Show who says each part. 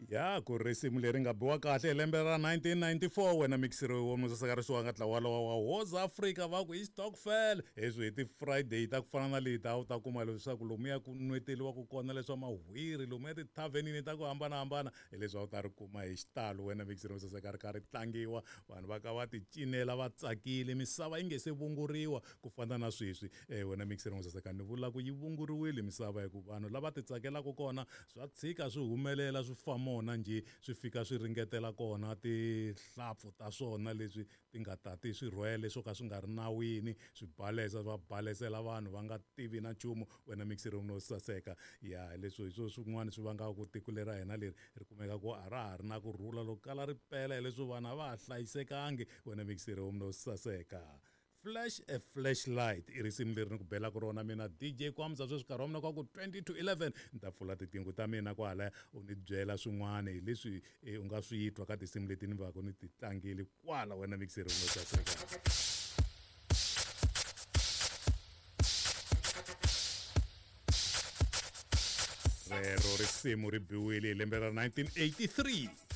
Speaker 1: Ya ku risimu leri nga biwa kahle hi lembe ra 1994 wena mixiro wa musaseka nga ntlawa lowa wa Woza Africa va ku i stokvel. Heswi hi ti-Friday ta ku fana na leti a wu ta kuma leswaku lomuya ku nweteliwaku kona leswa mahwiri, lomuya tithavhenini ta ku hambanahambana, hileswi a wu ta ri kuma hi xitalo wena mixiro musaseka ri kha ri tlangiwa, vanhu va ka va ti cinela va tsakile, misava yi nge se vunguriwa ku fana na sweswi. Wena mixiro musaseka ni vula ku yi vunguriwile misava hi ku vanhu lava ti tsakelaka kona swa tshika swi humelela swi famona njhe, swi fika swi ringetela kona tihlapfu ta swona leswi ti nga tati swi rhwele swo ka swi nga ri nawini, swi balesa va balesela vanhu va nga tivi na nchumu. Wena mixiro no saseka, ya leswi hi swo swin'wana swi vangaka ku tiko leri ra hina leri ri kumeka ku a ra ha ri na kurhula loko kala ri pela, hileswi vanhu a va ha hlayisekangi. Wena mixiro no saseka. Flash a Flashlight i risimu leri ni ku belaka rona mina DJ Kwamza sweswi nkarhi wa mina kwa ku 20 to 11 ni ta pfula tiqingho ta mina kwalaya u ni byela swin'wana hi leswi u nga swi twa ka tinsimu leti ni va ku ni ti tlangile kwala wena mixer no saseka. Rero risimu ri biwile hi lembe ra 1983.